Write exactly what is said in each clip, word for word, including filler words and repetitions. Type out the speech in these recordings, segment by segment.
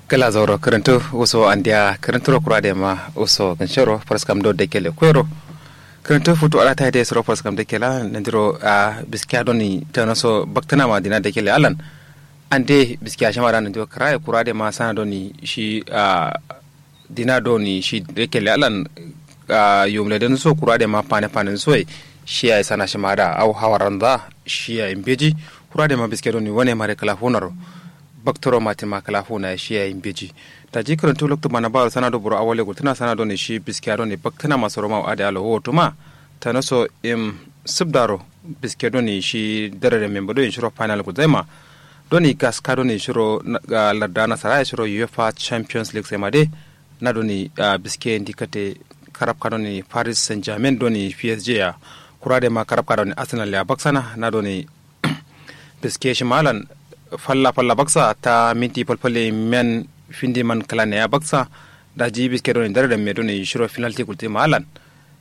Kǝla zauro kǝrǝntǝ wuso andiya kǝrǝntǝro kura dema wuso kǝnshero faraskam do dekele kuero. Kǝrǝntǝ futu ala tayi de suro faraskam dekela nandiro a biskiya doni tanoso baktǝnama dina dekele alan. Ande biskiya shima da nandiro kǝraye kura dema sana doni shi a dina doni shi dekele alan. A yumle dǝnso kura dema fane fane nsoye. Shi yayi sana shima da au hawaranza shi yayi mbeji. Kura dema biskiya doni wane mare kǝla funaro. Baktǝro matin ma kǝla funa yayi shi yayi mbeji. Daji kǝrǝntǝ loktu bana baro sana do buro awale gultǝna sana doni shi biskiya doni baktǝnama soro ma ade alo wotuma. Tanoso im sǝbdaro biske doni shi darare memba doni shiro final gulzaima. Doni gaska doni shiro larda nasara shiro uefa champions league sai ma de. Na doni biske ndikate karabka doni paris saint germain doni psg ya. Kura de ma karabka doni arsenal ya baksana na doni biske shi malan falla falla baksa ta minti falfalle men findi man kala ne ya baksa. Daji biske doni darare me doni shiro penalty gulti malan.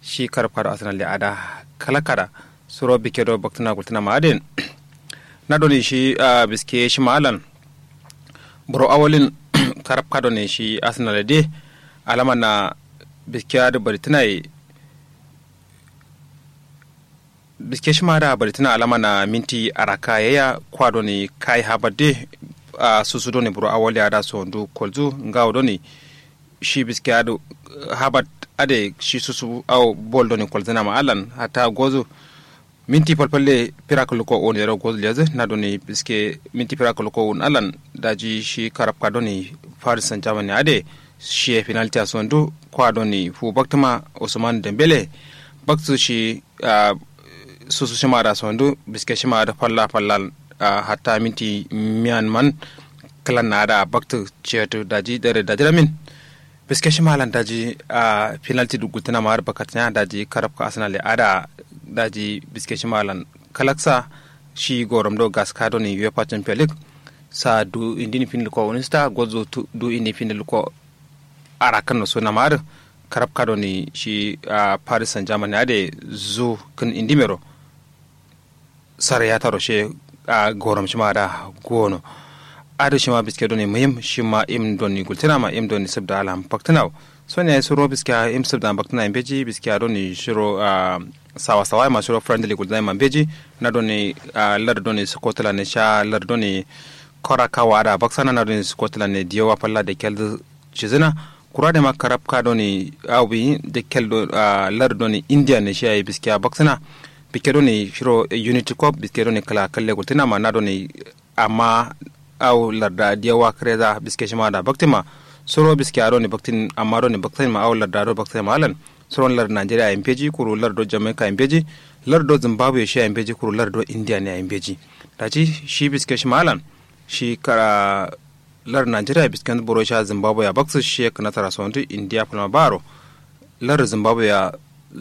Shi karabka do arsenal de ada kala kada suro biske do baktǝna gultǝna ma adin. Na doni shi biske shi ma alan buro awalin karabka doni shi arsenal de alama na biske adǝ bari tǝnaye. Biske shi ma da bari tǝna alama na minti araka yayya kwa doni kai habar de. Susu doni buro awali ada sondu kolzu ngawo doni shi biske adǝ habat ade shi susu au bol doni kolzǝna ma alan hatta gozu. Minti falfalle firak luko un yero gozu lezǝ na doni biske minti firak luko un alan. Daji shi karabka doni paris saint germain ade shiye penalty a sondu kwa doni fu baktǝma usman dembele. Baktǝ shi susu shima da sondu biske shima da falla falla. Hatta minti miyan man klan na da baktǝ cetǝ daji dare daji ramin. Biske shima lan daji penalty duk gultǝna ma har bakatǝna daji karabka arsenal ya ada daji biske shima lan kalaksa. Shi gorom do gaska doni uefa champion league sa du indin fin luko unista gozo du indin fin luko. Arakan no suna ma har karabka doni shi paris saint germain ade zu kǝn indimero. Sare ya taro she a gorom shima da gono. Adǝ shima biske doni muhim shima im doni gultǝna ma im doni sǝbda alam baktǝna. Soni yayi suro biske im sǝbda baktǝna mbeji biske doni shiro sawa sawa ma shiro friendly gultǝna ma mbeji. Na doni lar doni scotland ne sha lar doni kora kawa da baksana na doni scotland ne diyowa falla da keldu cizǝna. Kura de ma karabka doni au bi de kel do lar doni india ne shi yayi biske a baksana. Biske doni shiro unity cup biske doni kala kalle gultǝna ma na doni amma au larda diyawa kǝreza biske shima da baktin ma. Suro biske a doni baktin amma doni baktin ma au larda do baktin ma alan. Suro lar nigeria yayi mbeji kuru lar do jamaica yayi mbeji. Lar do zimbabwe shi yayi mbeji kuru lar do india ne yayi mbeji. Daji shi biske shima alan shi kara lar nigeria bisken buro sha zimbabwe ya baksǝ shiye kǝnatara sondu india falma baro. Lar zimbabwe ya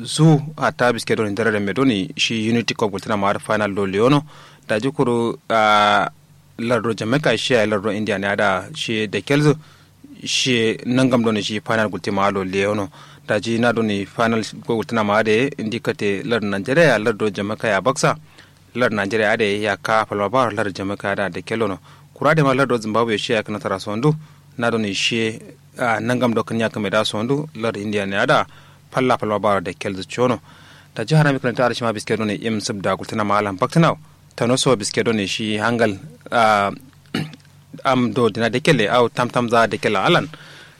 zu hatta biske doni darare me doni shi unity cup gultǝna ma har final do leono. Daji kuru lar do jamaica shiye lar do india ne ada shiye da kelzǝ. Shiye nangam doni shi final gultǝ ma har lo leono. Daji na doni final gultǝna ma har de indi kate lar nigeria ya lar do jamaica ya baksa. Lar nigeria adǝ yayi yakka falma baro lar jamaica adǝ adǝ kellono. Kura dema lar do zimbabwe shiye yakka nasara sondu. Na doni shiye nangam do kǝnya kǝme da sondu lar india ne adǝ falla falma baro adǝ kelzǝ cono. Daji harami kǝnanta adǝ shima biske doni im sǝbda gultǝna ma alan baktǝna. Tanoso biske doni shi hangal am do dina dekelle au tamtamza dekelle alan.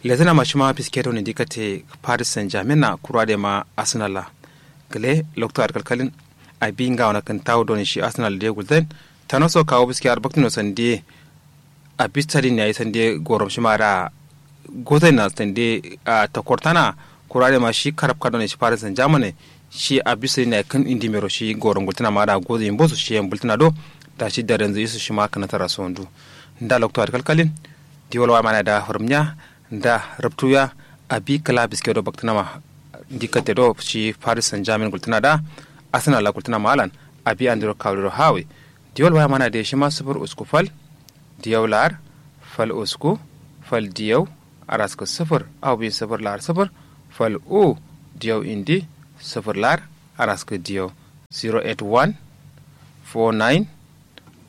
Lezǝna ma shima biske doni dikate paris saint germain na kura dema arsenal la. Gǝle loktu adǝ kalkalin abi ngawo na kǝntawu doni shi arsenal de gulzain. Tanoso kawu biske adǝ baktǝno sande abi stadin yayi sande gorom shima da gozai na sande. Takortana kura dema shi karabka doni shi paris saint germain ne. Shi abi stadin yayi kǝn indi mero shi gorom gultǝna ma da gozai mbosu shi yayi mbultǝna do. Da shi darenzu isu shima kǝnatara sondu. Nda loktu adǝ kalkalin. Diwol wa mana da furumnya nda rubtuya. Abi kǝla biske do baktǝna ma ndi kate do shi paris saint germain gultǝna da. Arsenal la gultǝna ma alan abi andiro kawri do hawi. Diwol wa mana de shima sufur usku fal diyau lar fal usku fal diyau araskǝ sufur au bin sufur lar sufur fal u diyau indi sufur lar araskǝ diyau. Zero eight one four nine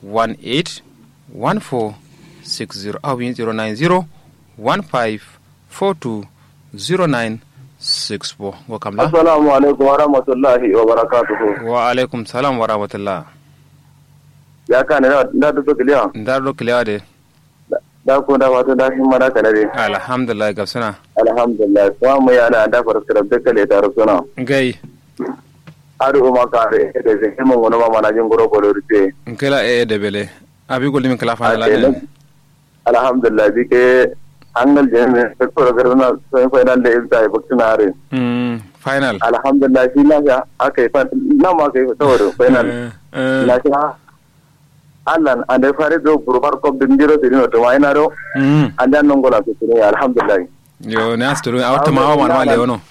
one eight one four six zero au bin zero nine zero one five four two zero nine six four. Ngo kamla. Assalamu alaikum wa rahmatullahi wa barakatuhu. Wa alaikum salam wa rahmatullah. Ya kane nda duk kiliya? Nda duk kiliya de. Da ku nda fatan da himma da kane de. Alhamdulillah gabsuna. Alhamdulillah kuma mu ya da da faraskara duk kale ta rusuna. Ngai. Adu uma kare da zai mun wani ma mana jin guro bolo rufe. Nkela e de bele. Abi gulmi kala fa la ne. Alhamdulillah bi ke angal jeme. Sektor garna semi final de ibta e bakti na are. Final. Alhamdulillah shi na sha aka yi. Na ma aka yi saboda final. Na sha allan ande fare do burfar kop din jiro sirino tuma ina do. Ande an nongola sirino alhamdulillah. Yo ne asturu awta ma wa man wale wono.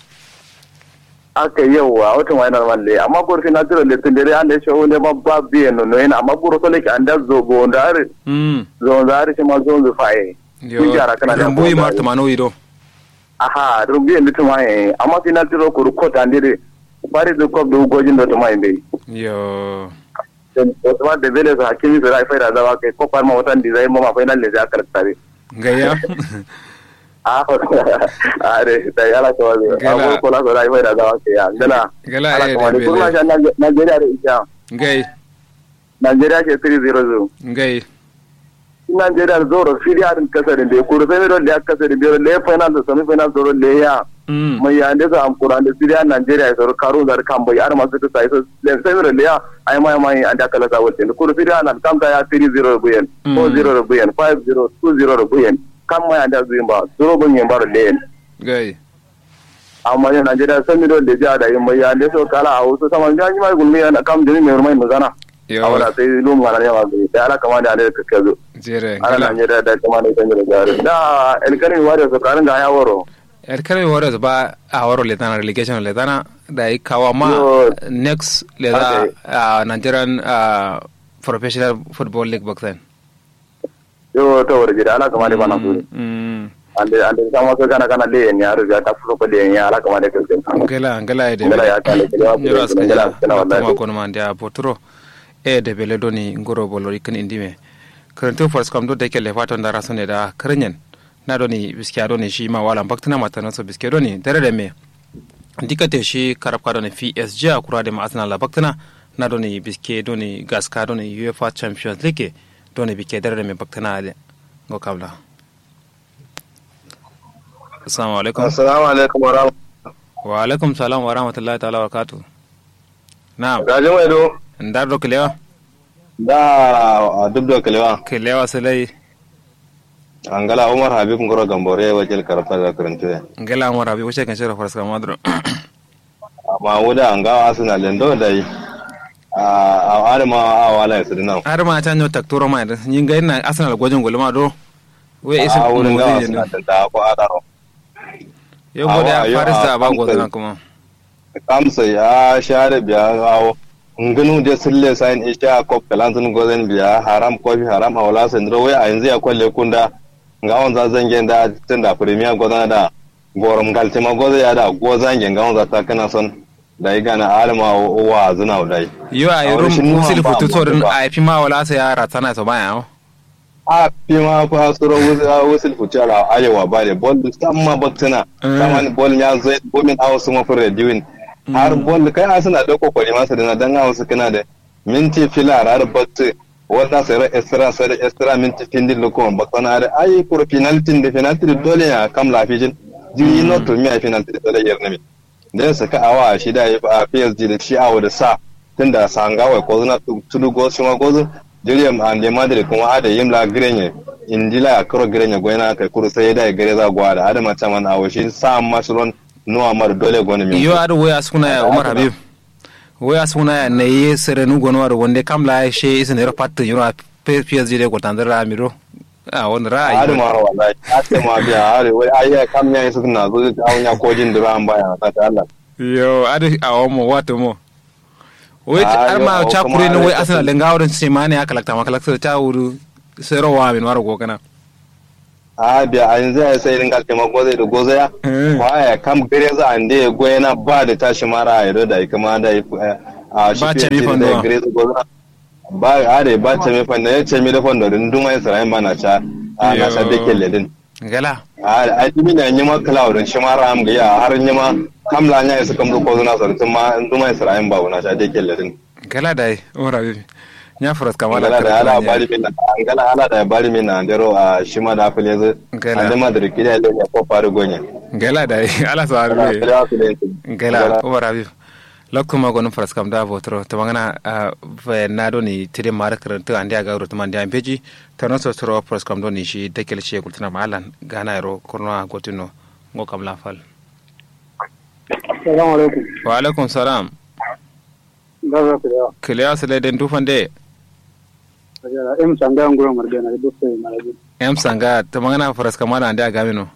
Aka yauwa wata ma yana man le amma goro sai na tiro le tun dare an da ya shawo ne ma ba biye no no yana amma goro sole ki an da zobo da are. Zo da are shi ma zo zo faye. Yo. Rumbu yi mar tumano yi do. Aha rumbu yi ndu tumaye amma sai na tiro kuru kota ndire. Fari du kop du gojin do tumaye be. Yo. Otuma debele so hakimi so da faida zawa kai ko parma watan di zai mama fainal ne zai akar tare. Ngayya. A are da yala ko abu ko la so da faida zawa kai ya ngala. Ngala ala ko wani kurma sha. Nigeria da isha. Ngai. Nigeria ke three zero zo. Ngai. Nigeria zoro siriya din kasarin da kuru sai mi don da kasarin da le final da semi final zoro le ya. Mai ya nde so am kuru ande siriya nigeria soro karu zar kambai ar masu ta sai so le sai mi don le ya. Ai mai mai ande kala sa wolte kuru siriya nan kam ta ya three zero buyen, four zero buyen, five zero, two zero buyen. Kam mai ande zuin ba zoro buyen ba le. Gai. Amma yo nigeria semi don da ja da yin mai ya nde so kala a wasu sama ga ni mai gulmi yana kam jini mai mai magana. Awala sai lum ngana ne ma bi da ala kama da ne ka kazo. Jere ala na ne da da kama ne kan da jare da elkani ware so karin ga ya waro. Elkani ware so ba a waro le tana relegation le tana da yi kawa ma. Next le da a nigerian professional football league baksan. Yo to wara jida ala kama de bana su. Ande ande sama so kana kana le ni aro ya ta fulo ko le ni ala kama de kake. Ngela ngela ede ngela ya kale ngela ngela kana wallahi. Kuma kono mande a boturo. Ede bele doni ngoro bolo ikin indime. Karantu fars kam do de kele faton da rasone da karanyen. Na doni biskiya doni shi ma wala baktina matana so biskiya doni dare da me. Dikate shi karabka doni psg a kura de ma arsenal la baktina. Na doni biske doni gaska doni uefa champions league. Doni bikke dare dame baktana ade. Ngo kabla. Assalamu alaikum. Assalamu alaikum wa rahmatullahi. Wa alaikum salam wa rahmatullahi ta'ala wa barakatuh. Na'am. Gaji mai do. Ndar do kilewa. Da duk do kilewa. Kilewa sulai. Angala umar habib ngoro gambore wakil karfa da karantu. Ngala umar habib wace kan shirya farska madro. Amma wuda ngawo arsenal den do dai. A adama a wala ya sidi nan adama ta nyo taktoro ma da ni ngai na arsenal gojin gulma do. Wai isin a wurin ngawo arsenal den da ko adaro. Yo gode a paris da ba gozana kuma. Kamsai a share biya awo. Ngunu de sille sain isha kop kalanzun gozen biya haram kofi haram awla sendro wai a yanzu ya kwalle kunda. Ngawon za zangen da tunda premier gozana da. Gorom ngaltima goza ya da goza nge ngawo za ta kana son. Dai gana alma wa zuna dai. Yo ayi rum usil futu so din ayi fima wala sai ya ratana so baya. A fima fa suro usil futu ala ayewa bare bol samma baktana. Saman bol nya zai gomin awo suma fure diwin. Har bol kai asuna da kokori masa dina dan awo su kana da minti fila har bakti. Wata sero extra sero extra minti findi lukon baksana da ayi kuro penalty da penalty da dole ya kam lafijin. Jiri no to mi ayi penalty da dole yernami. Da ya saka awa shi da ya psg da shi awo da sa. Tunda sanga wai ko zuna tudu gozu shi ma gozu. Jiri yam ande madrid kuma ada yim la grenye. Indila ya kuro grenye goyna kai kuro sai da ya gare za gwa da adama chaman awo shi sa amma shi ron. Nuwa mar dole goni min yo adu wai asukuna ya umar habib. Wai asukuna ya nayi serenu gono adu wande kam la she isin ero pattu yiro. Psg de gotandir ra miro. A wani ra'ayi. Adu maro wallahi adu ma biya adu wai ayya kam ya isu na zo awo nya kojin dura an baya na ta allah. Yo adu awo mo wato mo. Wai ar ma chakure no wai arsenal lenga wurin simane ya kalakta ma kalakta ta wuru. Sero wa min waro gokana. A biya a yanzu ya sai ringa tema goze da goze ya. Kwaya kam gare za a nde goye na ba da tashi mara a yado da kuma da a shi ba ce mi fando gare za goze. Ba a da ba ce mi fando ya ce mi da fando din duma isra'in ba na sha. A na sha da kelle din. Ngala. Ai dimi ne nyima kla wudun shima ram giya har nyima. Kam la nya isu kam du kozuna sar tuma nduma isra'in ba wuna sha de kelle din. Ngala dai umar abi. Nya fras kamala ngala dai ala bari min. Ngala ala dai bari min andero a shima da fule zu. Ngala ande madri kida de ko faru gonye. Ngala dai ala sa arbe. Ngala umar abi. Loktu ma gonum fras kam da votro to mangana. Fe na doni tede mara karantu ande aga wuro tuma ande ambeji. Tano so soro pros kam doni shi dakel shi gultuna ma alan gana ro kurno a gotino. Ngo kam la fal. Assalamu alaikum. Wa alaikum salam. Gaza kulewa. Kulewa sile den dufan de. Ajara em sanga nguro marbe na dufan marbe. Em sanga ta mangana faras kamana ande agamino.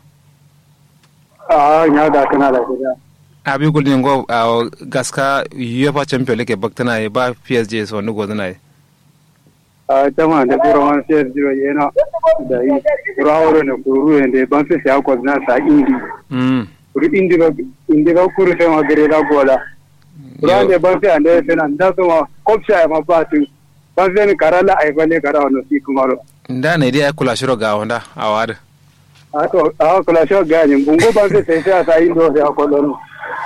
Ah nya da kana da kuda. Abi gulni ngo a gaska UEFA champion league baktana ba P S G so ni godana. A tama da kuro man sai jiro yana da yi kuro hauro ne kuru ruwe da ban sai ya kwazna sa indi. Mm. Kuru indi ba indi ba kuru sai ma gare da gola. Kuru Yo. Ande ban sai ande sai nan da so ma kopsha ma ba tu ban sai ni karala ai bale kara wano si kumaro. Nda ne dia kula shiro ga wanda awad. A to a kula shiro ga ni bungo ban sai sai sai sa indo sai akolon.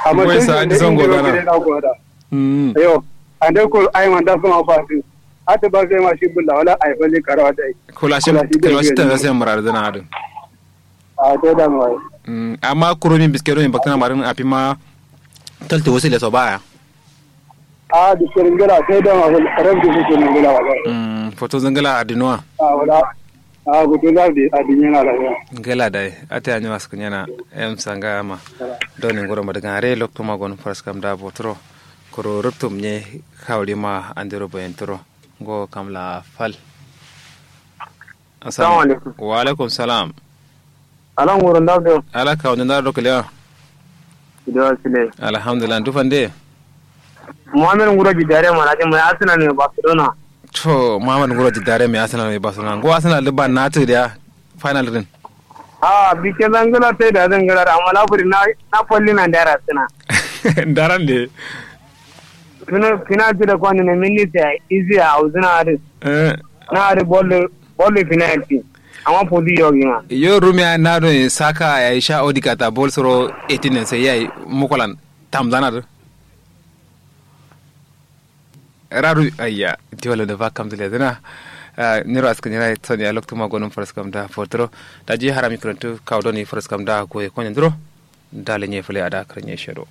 Amma Ngoi sai sa sai andi indi songo ba dana. Gare da gola. Mm. Yo ande kuru ai man da so ma ba tu. Ata ba zai ma shi bulla wala ai falle karawa dai. Kula shi kula shi ta sai murar zana adu. A to da ma. Mm, amma kuro min biske do min baktana marin afi ma talti wasu le so baya. A biske ngala sai da ma ran biske ngala wala. Mm, foto zangala adinwa. A wala. A gutu da bi adinwa na da. Ngala dai ata yanyo askunyana. Em sanga ma. Doni ngoro madagan re lokto ma gon faras kam da botro. Kuro ruptum ne kawri ma andiro boyentro. Ngo kam la fal. Assalamu alaikum. Wa alaikum salam. Ala nguro ndabdo. Ala ka wanda ndaro kalewa. Ido sile. Alhamdulillah dufan de. Muhammad nguro jidare mana je mai asina ne barcelona. To muhammad nguro jidare mai asina ne barcelona ngo asina liban na tu da final din. A bikin zangala sai da zangala da amma laburi na na falli na da rasina. Daran de. Fina fina ti da kwani ne minni ta izi a uzuna adu. Eh. Na adu bollo bollo fina yanti. Amma fodi yogi ma. Yo rumi a na do saka ya isha odika ta bol soro eighteen ne sai yayi mukolan tamzana do. Raru ayya. Diwala da ba kam dile dana. Niro askin yana sani a loktu ma gonum faras kam da fotro. Da ji harami kurantu kawo doni faras kam da goye konyen duro. Da lenye fule ada karanye shero.